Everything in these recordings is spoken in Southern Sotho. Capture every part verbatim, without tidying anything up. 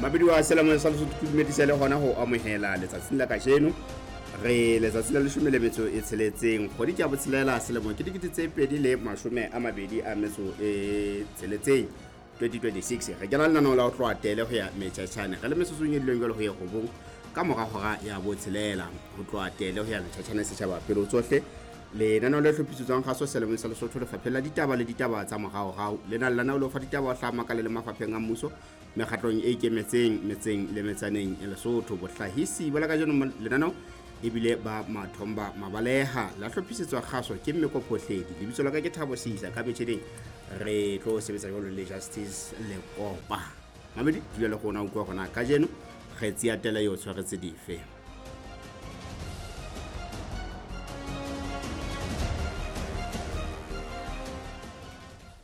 Mabedi wa selemong sa Lesotho, ke dumedise le hona ho amohela letsatsing la kajeno. Re letsatsi la leshome le metso e tsheletseng, kgwedi ke ya botshelela, selemo ke dikete tse pedi le mashome a mabedi a metso e tsheletseng, twenty twenty-six. Re kena lenaneo la ho tloha tele ho ya metjhatjhane, re le metsotsong e dileng jwalo ho ye robong ka mora hora ya botshelela. Ho tloha tele ho ya metjhatjhane setjhaba pele ho tsohle. Lenaneo le hlophisetswang kgaso selemong sa Lesotho, lefapheng la ditaba le ditaba tsa moraorao. Lena lenaneo le fa ditaba ho hlaha makaleng le mafapheng a mmuso, mekgatlong e ikemetseng, metseng le metsaneng ya Lesotho. Bohlahisi ba la kajeno lenaneo ebile ba Mathomba Mabaleha, la hlophisetswa kgaso ke Mmeko Phohledi. Lebitso la ka ke Thabo Seisa, ka metjheding re tlo sebetsa jwalo le Justice Lekopa. Mamedi, dula le rona, utlwa hore na kajeno kgetsi ya tele eo tshwaretse dife.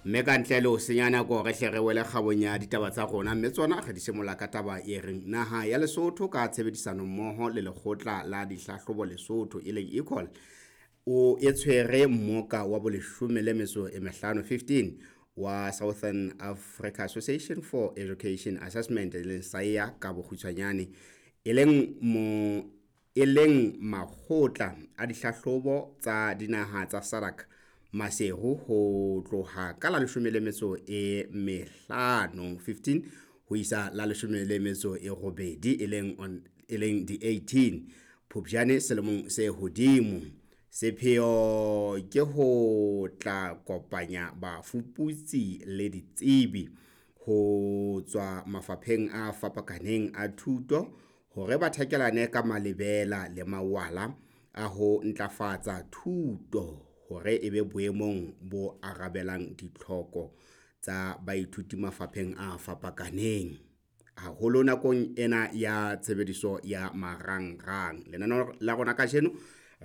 Mme ka ntle le ho senya nako, re hle re wele kgabong ya ditaba tsa rona, mme tsona re di simolla ka taba e reng naha ya Lesotho ka tshebedisano mmoho le lekgotla la dihlahlobo Lesotho e leng ECOL o e tshwere mmoka wa boleshome le metso e mehlano fifteen wa Southern Africa Association for Education Assessment e leng SAEA ka bokgutshwanyane, e leng mo e leng makgotla a dihlahlobo tsa dinaha tsa SADC Maseru ho tloha ka la leshome le metso e mehlano fifteen ho isa la leshome le metso e robedi e leng on e leng di eighteen Phupjane selemong se hodimo. Sepheo ke ho tla kopanya bafuputsi le ditsebi ho tswa mafapheng a fapakaneng a thuto hore ba thakelane ka malebela le mawala a ho ntlafatsa thuto hore e be boemong bo arabelang ditlhoko tsa baithuti mafapheng a fapakaneng, haholo nakong ena ya tshebediso ya marangrang. Lenaneo la rona kajeno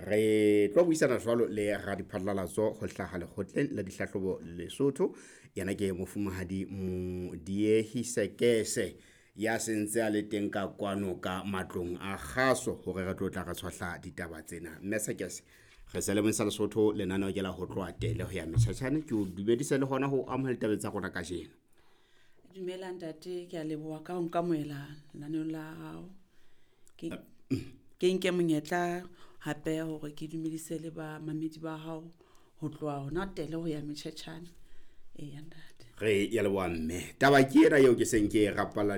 re tlo buisana jwalo le radiphatlalatso ho hlaha lekgotleng la dihlahlobo Lesotho. Yena ke mofumahadi Modiehi Sekese ya sentse a le teng ka kwano ka matlong a kgaso hore re tlo tla re tshwahla ditaba tsena. Mme Sekese, re selemong sa Lesotho, lenaneo ke la ho tloha tele ho ya metjhatjhane. Ke o dumedise le hona ho amohela ditabeng tsa rona kajeno. Dumela ntate, ke a leboha ka ho nkamohela lenaneong la hao. Ke ke nke monyetla hape hore ke dumedise le bamamedi ba hao ho tloha hona tele ho ya metjhatjhane. Eya ntate. Re ya leboha mme. Taba ke ena eo ke seng ke e rapalla.